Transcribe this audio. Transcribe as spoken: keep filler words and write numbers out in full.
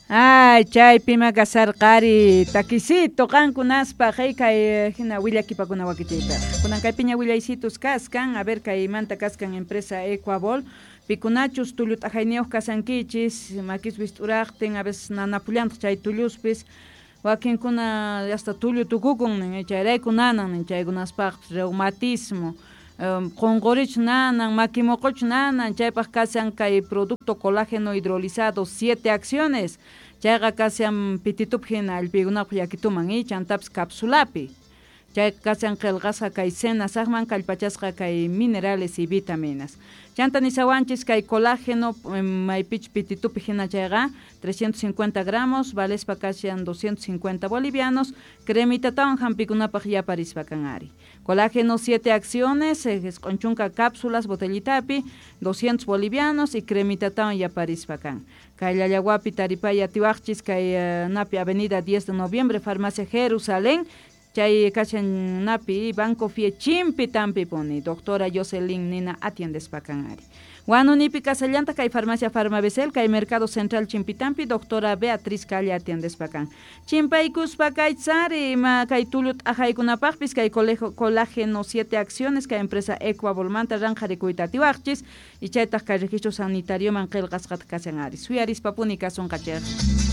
Ay, chaypima kasarqari takisito qankunaspaq hey kay hina willakipakuna wakichiypaq. Kunan kaypiña willaysitus kaskan, a ver kaymanta kaskan empresa Ecuabol, pikunachus tullu t'ajayniyuq kasankichis, makispis t'uraqtin, a veces nanapullantaq chay tulluspis, wakinkuna hasta tullu tukukun nin, chayrayku nanan nin chaykunaspaqpis reumatismo, um, qunqurichu nanan, maki muquchu nanan, chaypaq kashan kay producto colágeno hidrolizado siete acciones, chayqa kashan pititupi hina allpiykunapaq yakituman y chantapis capsulapi. Chay kashan qillqasqa kay senasaqman kallpachasqa kay minerales y vitaminas. Chanta nisawanchis kay colágeno maypich pititupi hina chayqa trescientos cincuenta gramos, valespa kashan doscientos cincuenta bolivianos, cremitatawan hampikunapaq yaparispa kan ari. Colágeno siete acciones, isq'un chunka cápsulas botellitapi, doscientos bolivianos y cremitatawan yaparispa kan. Kay Llallawapi taripay atiwaqchis kay uh, napi Avenida diez de Noviembre, Farmacia Jerusalén, chay kashan napi Banco Fie chimpi tampi puni, doctora Jocelyn Nina atiendespa kan ari. Huanunipi kasallanta kay Farmacia Farmabesel, kay Mercado Central Chimpitampi, doctora Beatriz Calle atiendespa kan. Chimpaykuspa kay tsari, ma kay tullu t'ajaykunapaqpis, kay colegio, colágeno siete acciones, kay empresa Ecuabolmanta ranqarikuyta atiwaqchis, y chaytaq kay registro sanitarioman qillqasqata kashan ari. Suyarispa puni kasunqachej.